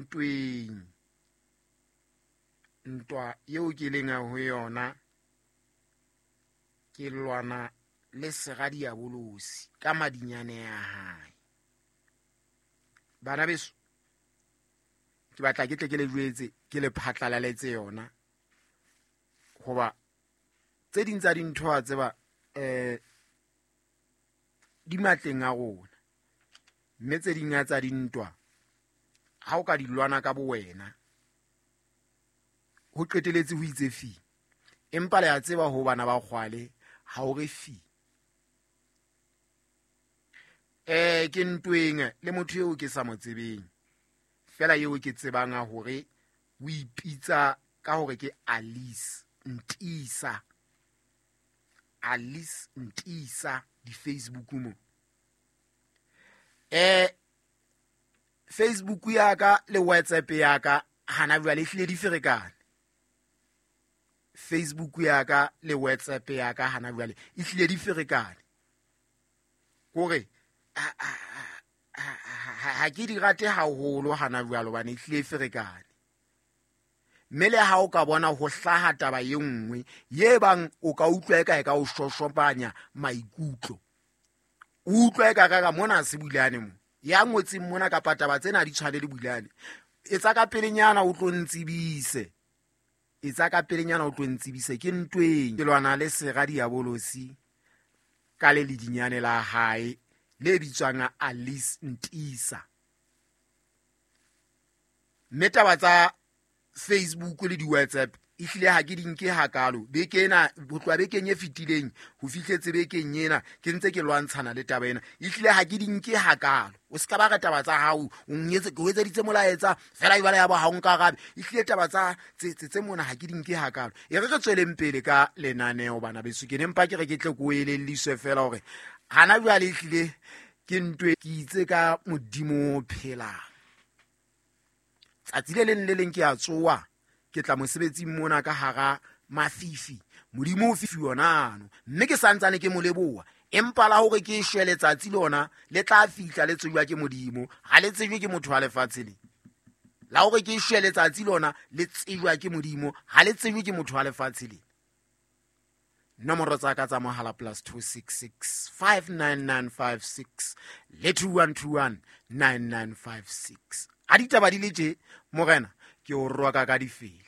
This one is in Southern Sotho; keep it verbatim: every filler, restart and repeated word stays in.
ntweng. Ntwa eo ke leng ho yona ke lwana le sera diabolosi ka madinyane a hae. Bana beso, ke batla ke tle ke le jwetse, ke le phatlalaletse yona. Hoba tse ding tsa dintho wa tseba, eh, di matleng a rona. Mme tse ding tsa dintwa ha o ka di lwana ka bo wena, ho qeteletse ho itse fi. Empa le a tseba ho bana ba kgwale ha o re fi. Eh, ke ntweng le motho eo ke sa mo tsebeng, fela eo ke tsebang hore o ipitsa ka hore ke Alice Ntisa. Alice Ntisa di Facebook mo. Eh, Facebook ya ka le WhatsApp ya ka hana jwale ehlile di ferekane. Facebook ya ka le WhatsApp ya ka hana jwale ehlile di ferekane. Kore ha ke di rate haholo hana jwale hobane ehlile e ferekane. Mme le ha o ka bona ho hlaha taba e nngwe ye bang o ka utlwa eka e ka o shoshopanya maikutlo, o utlwa eka ka ka mona se Bulane mo ya ngotseng mona kapa taba tsena di tshwane le Bulane, etsa ka pelenyana o tlo ntsebise, etsa ka pelenyana o tlo ntsebise. Ke ntweng ke lwana le sera diabolosi ka le ledinyane la hae le bitswang Alice Ntisa. Mme taba tsa Facebook le di-WhatsApp ehlile ha ke di nke hakalo. Beke ena, ho tloha bekeng e fetileng ho fihletse bekeng ena, ke ntse ke lwantshana le taba ena. Ehlile ha ke di nke hakalo. O ska ba re taba tsa hao, o nnyetse, ke o etseditse molaetsa fela jwale ya bo ha o nkarabe. Ehlile taba tsa tse, tse, tse mona ha ke di nke hakalo. E re re tsweleng pele ka lenaneo bana beso. Ke ne mpa ke re ke tle ke o elelliswe fela hore hana jwale ehlile ke ntwe ke itse ka Modimo o phelang. Tsatsi le leng le leng ke a tsoha, ke tla mosebetsing mona ka hara mafifi. Modimo o fifi yona ano, mme ke santsane ke mo leboha. Empa la hore ke shwe letsatsi lona le tla fihla le tsejwa ke Modimo, ha le tsejwe ke motho wa lefatshe le. La hore ke shwe letsatsi lona le tsejwa ke Modimo, ha le tsejwe ke motho wa lefatshe le. Nomoro tsa ka tsa mohala plus two six six five nine nine five six le two one two one nine nine five six. Ha ditaba di le tje, morena, ke o roka ka difele.